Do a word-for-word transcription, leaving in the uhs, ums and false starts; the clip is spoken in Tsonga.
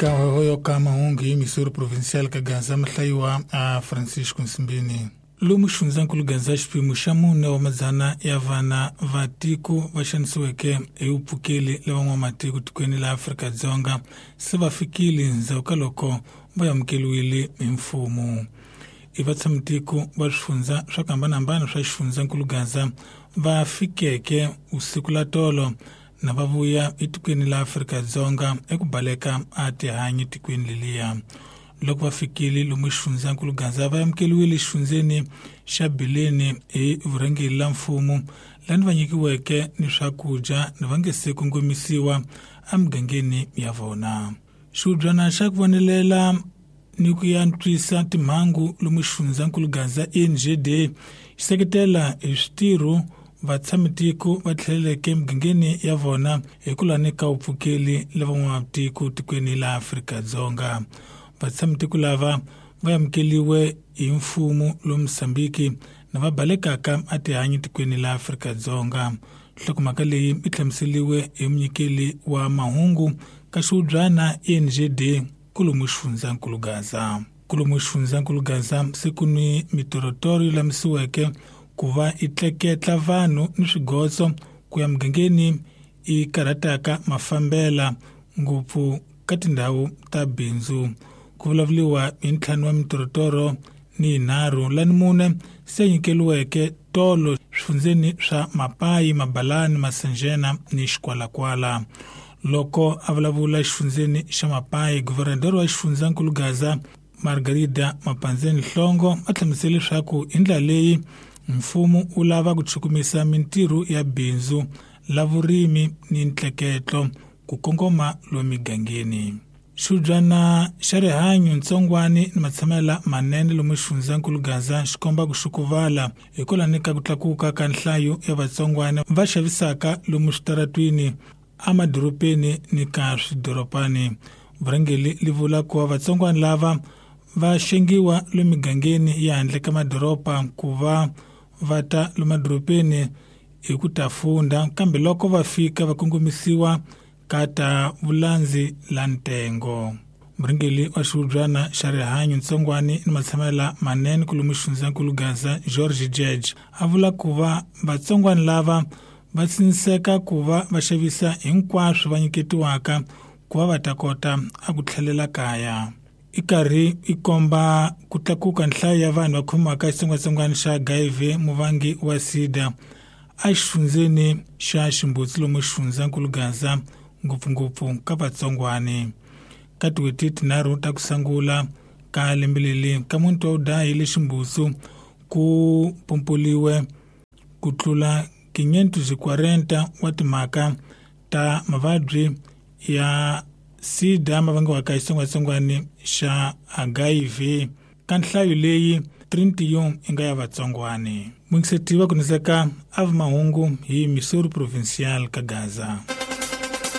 Ka hoyo ka mahungu hi Missouri Provincial ka Gaza mahlayiwa a Francisco Nsimbini. Lomu xifundzankulu Gaza xiphemu xa mune wa madzana ya vana va tiko va xanisiweke hi vupfukeli la van'wamatiko tikweni la Afrika-Dzonga se va fikile ndzhaku ka loko va amukeliwile hi mfumo. I vatshamitiko va swifundza swa ku hambanahambana swa xifundzankulu Gaza va fikeke usiku la tolo na va vuya etikweni la Afrika-Dzonga eku baleka a tihanyi tikweni leliya. Loko va fikile lomu xifundzankulu Gaza va amukeliwile xifundzeni xa Bileni hi vurhangeri la mfumo lani va nyikiweke ni swakudya ni va nge se kongomisiwa emugangeni ya vona. Xihubyana xa ku vonelela ni ku antswisa timhangu lomu xifundzankulu Gaza N G D xi seketela hi switirho vatshamitiko va tlheleleke emugangeni ya vona hi ku lani ka vupfukeli la van'wamatiko tikweni la Afrika-Dzonga. Vatshamitiko lava va amukeliwe hi mfumo lomu Mozambiki na va balekaka a tihanyi tikweni la Afrika-Dzonga. Nhlokomhaka leyi yi hlamuseliwe hi munyikeli wa mahungu ka xihubyana N G D kulomu xifundzankulu Gaza. Kulomu xifundzankulu Gaza se ku ni mitorotoro yi lamisiweke ku va yi tleketla vanhu ni swigotso ku ya mugangeni yi karhataka mafambela ngopfu ka tindhawu ta bindzu. Ku vulavuriwa hi ntlhanu wa mitorotoro ni yinharhu lani mune se nyikeliweke tolo swifundzeni swa Mapayi, Mabalani, Masanjena ni Xikwalakwala. Loko a vulavula xifundzeni xa Mapayi, guvernador wa xifundzankulu Gaza Margarida Mapanzeni Hlongo a hlamusele leswaku hi ndlela leyi mfumo wu lava ku chukumisa mintirho ya bindzu la vurimi ni ntleketlo ku kongoma lomu migangeni. Xihubyana xa rihanyo ntsongwani ni matshamela manene lomu xifundzankulu Gaza xi komba ku xukuvala hikwalaho ka ku tlakuka ka nhlayo ya vatsongwana va xavisaka lomu switaratwini emadorobeni ni ka swidorobani. Vurhangeri li vula ku va vatsongwana lava va xengiwa lomu migangeni ya handle ka madoroba ku va va ta lomu madorobeni hi ku ta funda, kambe loko va fika va kongomisiwa ka ta vulandzi la ntengo. Murhangeri wa xihubyana xa rihanyo ntsongwani ni matshamela manene kulomu xifundzankulu Gaza George Judge a vula ku va vatsongwana lava va tsiniseka ku va va xavisa hinkwaswo va nyiketiwaka ku va va ta kota a ku tlhelela kaya. I karhi i komba ku tlakuka nhlayo ya vanhu va khomiwaka xitsongwatsongwana xa H I V muvangi wa SIDA a xifundzeni xa Ximbutsi lomu xifundzankulu Gaza ngopfungopfu ka vatsongwani. Ka tin'hweti tinharhu ta ku sungula ka lembe leri ka muti wa Udayi le Ximbutsu ku pompoliwe ku tlula quinhentos e quarenta wa timhaka ta mavabyi ya SIDA ma vangiwaka hi xitsongwatsongwana xa H I V ka nhlayo leyi trinta e um yi nga ya vatsongwani. Mungiseti wa ku niseka a mahungu hi Missouri Provincial ka Gaza.